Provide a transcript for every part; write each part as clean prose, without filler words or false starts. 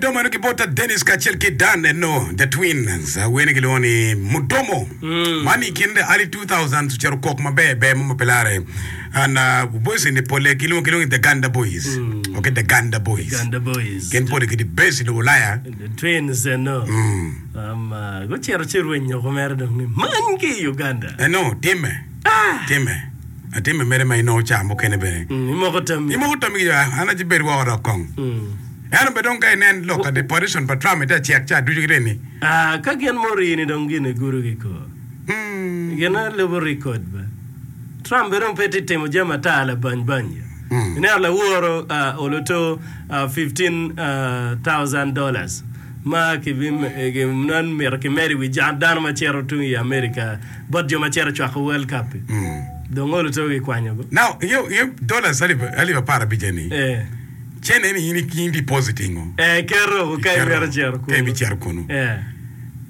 Midomo eno ki bot Dennis kacel ki Dan eno the twins wene gilwongo ni Mudomo. Man i kin the early 2000s ocito kok maber ber mo ma pe lare. And uh, boys ni pole gilwongo gilwongo ni the Ganda boys. Okay, the Ganda boys. Ganda boys. Gin pole gitye base i lobo Ulaya. The twins eno. Um, uh, gucito ci rwenyo ko mere dong ni many ki i Uganda. Eno timme. Timme. Atimme mere ma inongo ca mukene bene. Imoko tammi. Imoko tammi ki jo an aci bed woko dok kong. Ento bene dong ka inen lok ka deportation pa Trump ite acek ca ducu gitye ni. Ah, ka gin murii ni dong gin egudo ki kor. Gin alubo record ba. Trump bene dong pe tye timo jami ata labany bany. Ineno laworo oloto 15,000 dollars ma kibinan mito kimedo i wi dano ma cito tung i America. Bot jo ma cito cwako World Cup-pi, dong olo to gikwanyo go. Now, ingeyo, ingeyo dollars alip, alip 15 ni, Eh. cene ni in, in depositingo. Eh, iketo ka Iketo, imito cito ka kunu. ibicito kunu. Eh.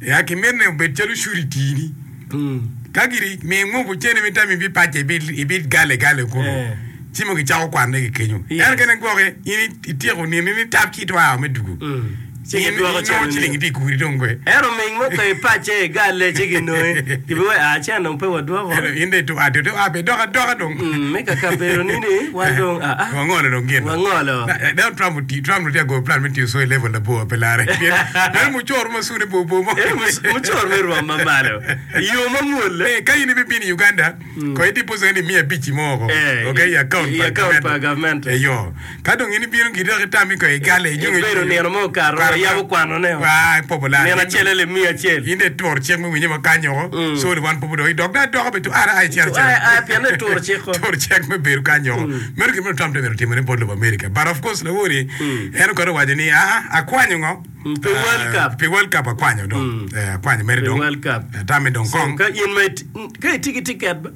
Ya, kimito ni obed calo surity ni. Mm. Ka giri mi ngubu cene mi tam ibipace, ibi, ibigale gale kunu. Eh. Ci mo gicako kwanne ki kenyo. Yes. Ento kene gwoke, in ityeko nino ni tap ci itwao me dugu. Mm. Ci In gidwoko inongo cene ciling ni. itye i kuri dong kwe. Ento ming mo pe ipacce igalle ci ginongi. Gibiwaco, ah, cen dong pe wadwoko. Ento in dong itu a to a be dok adoka dong. Mm, me ka kabedo ni ni wan dong a a. Wangolo dong gin. Wangolo. Na, Donald Trump oti, Trump tye agoyo plan me tiyo so i level labor pe lare. Pien meno mucoro ma sune bor bor mo. Ento mucoro me rwom ma malo. I yo ma mwol. Eh, ka in ibibino i Uganda, Kono i deposit ni miya abic-ci mo woko, Eh, ok, i account i pa account pa gavment. gavment. Eyo. Ka dong in ibino giri dok itami ko igale ijungo Ibedo nino mo okato, Kwano wayabo kwanone o. Waa, ipobo laa. Nino acel alip miya acel. In dong ituro cik me winye ma kany oko. So wan pobo dong idok dong adoka bene tu ara a icito Tu acita. a, a, pien ituro cik-ko. Turo cik me bedo kany oko. Meno gin ma Trump tye mito timone bot lobo America. But of course lawori, en oketo owaco ni, aa, akwanyo ngo? Pi World Cup. Pi World Cup akwanyo dong. Eh, akwanyo mere Pi dong. World Cup. Atame dong So, kong. ka in ma it, ka itye ki tiket ba,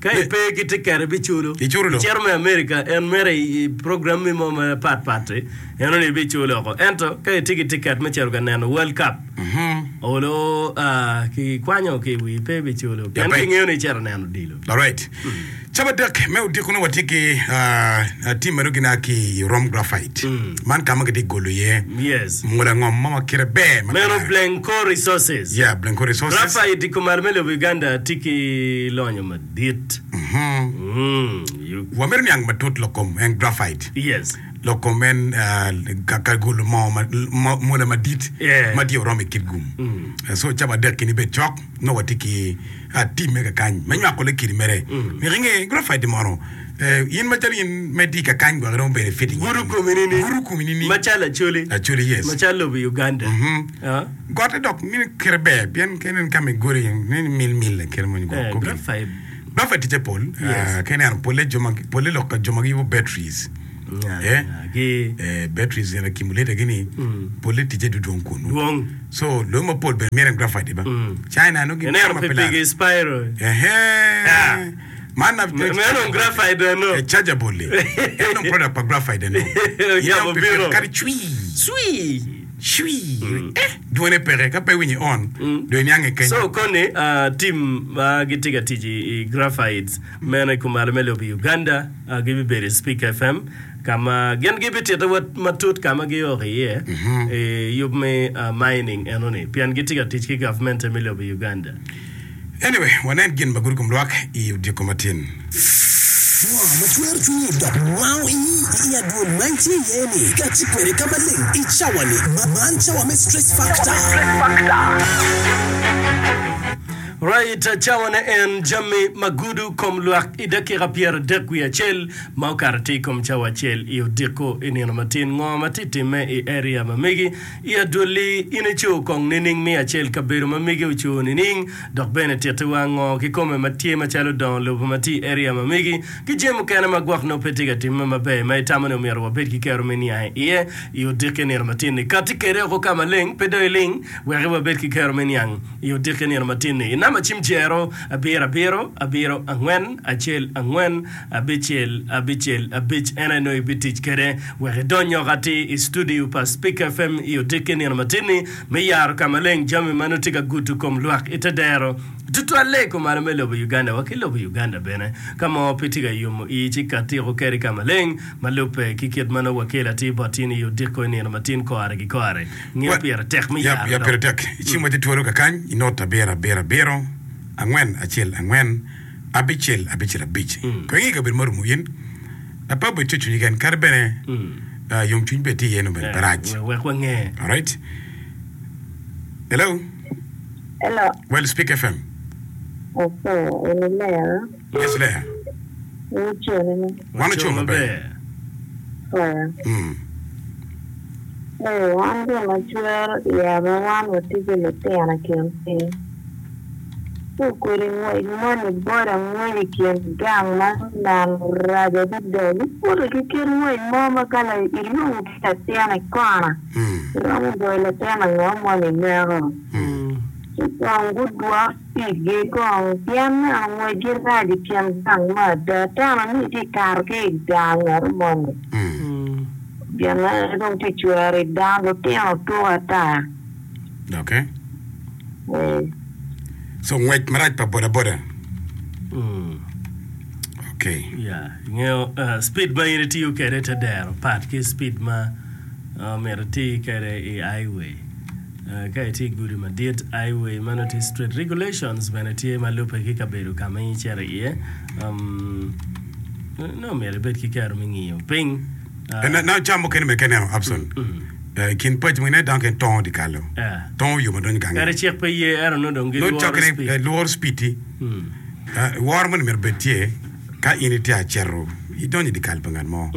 ka ipe ki tiket ibiculo. Iculo dong. Icito me America, en mere i, i program-mi mo ma pat pat-ti, eno ni ibiculo oko. Ento ka itye ki tiket me cito ka neno World Cup, olo ah, kikwanyo ki i wi pe ibiculo. Pien Yape. kingeyo ni icito neno odilo. Alright. Capadek me odiko nongo watye ki tim ma nongo gina ki i Rom Graphite. Man ka ma gitye golo iye Yes. mola ngom mo ma kite ber ma Meno kare. Blencoe Resources. Yeah, Blencoe Resources. Graphite i kumalo me lobo Uganda tye ki lonyo madit. Mm, you- Wamito niang matut lok kom en graphite. Yes. Lok kom en ka ka golo moo ma- mo- mola madit Yeah. ma tye oromo i kit gum. So capadek kini bed cok nongo watye ki Atimme kakany me nywako le kidi mere. Myero inge graphite mono in macalo in ma itye kakany gwok iromo bedo ifit Gudo komi nining? Gudo komi nining? Macalo Acholi. Acholi yes. Macalo lobo Uganda. Gotte dok mini kite ber pien ka ineno ka ma igolo iye neno mil mil kite mo Eh, graphite. Graphite ticce pol. Yes. Ka ineno polle jo ma polle lok pa jo ma giyubo batteries. Yeah, Eh? gi Eh, batteries gin accumulator gini polle ticce dudwong kunu. dwong. So loyo mapol bene myero en graphite ba. China nongo gin Ineno ma pe pikipiki laro. Spiro. Ehe. Man na Meno dong graphite eno. E chargeable. En dong product pa graphite eno. Oyabo Ineno pikipiki bino. kadi cwii. Cwii. Cwii. Eh, dwone peke ka pe iwinyo i on dong iniange kenyo. So koni ah, team ma gitye ka tic i i graphites meno i kumalo me lobo Uganda ah, gibibedo i Speak FM. ka ma gin gibititowa matut ka ma gioko iye i yub me mining enoni pien gitye ka tic ki gavmente me lobo Uganda. Anyway, wanen gin ma gudo kom lwak i odiko matin. Ngo ma cwero cwinyi dok wango ii i adwol ma itye iye-ni? Kati kwede ka maleng i cawa-ni. Man cawa me Stress Factor. Right, cawane en jami ma gudo kom lwak i dakika 31. Ma okato tye i kom cawa acel i odiko i nino matin, ngo ma tye timme i area ma megi? I adwolli, in ico kong nining me acel kabedo ma megi oco nining? Dok bene tittiwa ngo kikome ma tye macalo dongo lobo ma tye i area ma megi ki jami mukene ma gwok nongo pe tye ka timme maber ma itamo ni omyero wabed ki kero me niange iye i odiki nino matin-ni. Katti kede oko ka maleng, pe dong iling, wek wabed ki kero me niang i odiki nino matin-ni. I namba cim jero abiro abiro abiro angwen acel angwen Abicel, abicel, abic en aye nongo ibitic kwede wek idony oko atir i studio pa Spik FM i odiki nino matin-ni me yaro ka maleng jami ma nongo tye ka gudo kom lwak i te dero. Tutwalle i kumalo me lobo Uganda wa ki lobo Uganda bene. Ka mo pe tye ka yomo ii ci katiko keri ka maleng ma lubbe ki kit ma nongo wakelo atir bot tin i odiko i nino matin kore ki kore. Ngeyo pire tek me Yap, yaro yap pire dok. tek. I cim watye twolo kakany i not abiro abiro abiro, angwen acel angwen, abicel abicel abic. Kong inge kabedo ma orumo in, pe obed cwercwiny keken, kadi bene yomcwiny bene tye iye nongo bene pe rac. Wek wange. Alright. Hello. Hello. Well Speak FM. Opo, eni Lea. Yes Lea. Wucone ni. Wan ocung maber. Oya. Mm. Ee, wan gin ma cwero iya ma wan watye ki lutino i kin piny. Ci kodi ngwec moni boda ngwec i kin gang ma neno rac adada. Giputo ki kit ngwec mo ma ka ilungo ki latin i kona, iromo goyo latin ango moni ineko. Ci kong gudwok pigi kong, pien neno ngwecgi rac i kin gang me ada. Teno ni itye ka kato ki i gang ngat moni, gin aye dong tye cwero i dano, lutino tuko ata. Okay. Ee. So ngwec marac pa bodaboda. Okay. Yeah, ingeyo uh, speed ma in itiyo kwede i te dero pat ki speed ma uh, myero iti kwede i highway. Ka itye i gudi madit, highway, ma nongo tye street regulations bene tye ma lubbe ki kabedo ka ma in icito iye. Nongo myero ibed ki kero me ngiyo piny. Nongo ca mukene bene ka ineno Abson, i kin paci mogo ineno dano kene tongo dyekal-lo, tongo yo ma donyo gange. Kadi cik pe ye ento nongo dong Nongo gilworo cokene speed. lworo speed-ti. Woro moni myero obed tye ka in itye acito idonyo i dyekal pa ngat mo.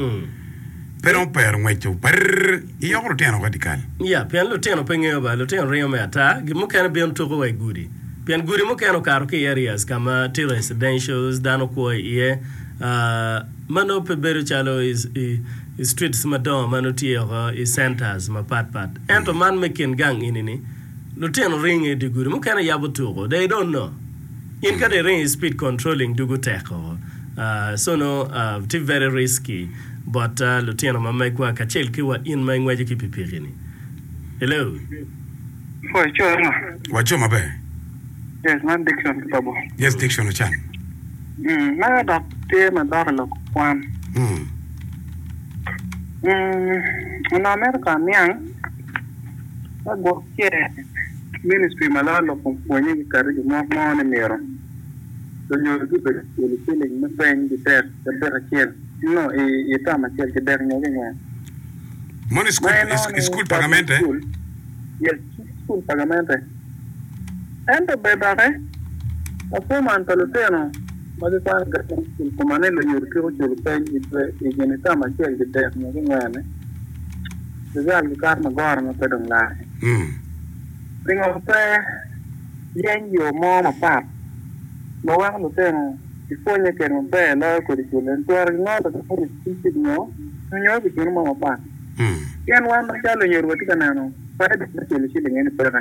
Pe dong opero ngweco parr iyoko lutino woko i dyekal. Ya, pien lutino pe ngeyo ba, lutino ringo me ata, gin mukene bino tuko wa i gudi. Pien gudi mukene okato ki i areas ka ma tye residentials, dano kwo iye, ma nongo pe bedo calo i streets madongo ma nongo tye oko i centers mapat pat. Ento man me kin gang eni-ni, lutino ringo i dye gudi, mukene yabo tuko, they don't know. In ka dong iringo i speed controlling dugo tek oko. So nongo tye very risky. Bot lutino ma megwa kacel ki wa in ma ingweco ki pikipiki-ni. Hello. Pwoyo co eno. Waco maber. Yes, man Dickson ki Babo. Yes, Dickson Ocan. Mm, mega dok tye ma dok i lok kwan. Mm. Mm, onongo amito ka aniang ka gwok ce ministry ma loyo lok kom pwonye giketo gimok mo ni myero lunyodo gubed ka culo ciling me peny gitek cabit acel. No, i i term acel ki dek nyo ki ngwen. Mono i Ma cukul, inongo i ni cukul pa public gamente? school, yes, cukul pa gamente. Ento be doki, performance pa lutino ma gikwano i government school koma ni lunyodo twiko culo peny i dwe i gin i term acel ki dek nyo ki ngwen-ni, result gikato magoro ma pe dong larre. Mm. Pingo pe yeny yo mo mapat ma weko lutino Ipwonye kwede maber loyo kodi cul en twero gingolo ki kodi cul nyo nyo ki gino mo mapat. Pien wan macalo lunyodo watye ka neno faida me culo ciling eni peke.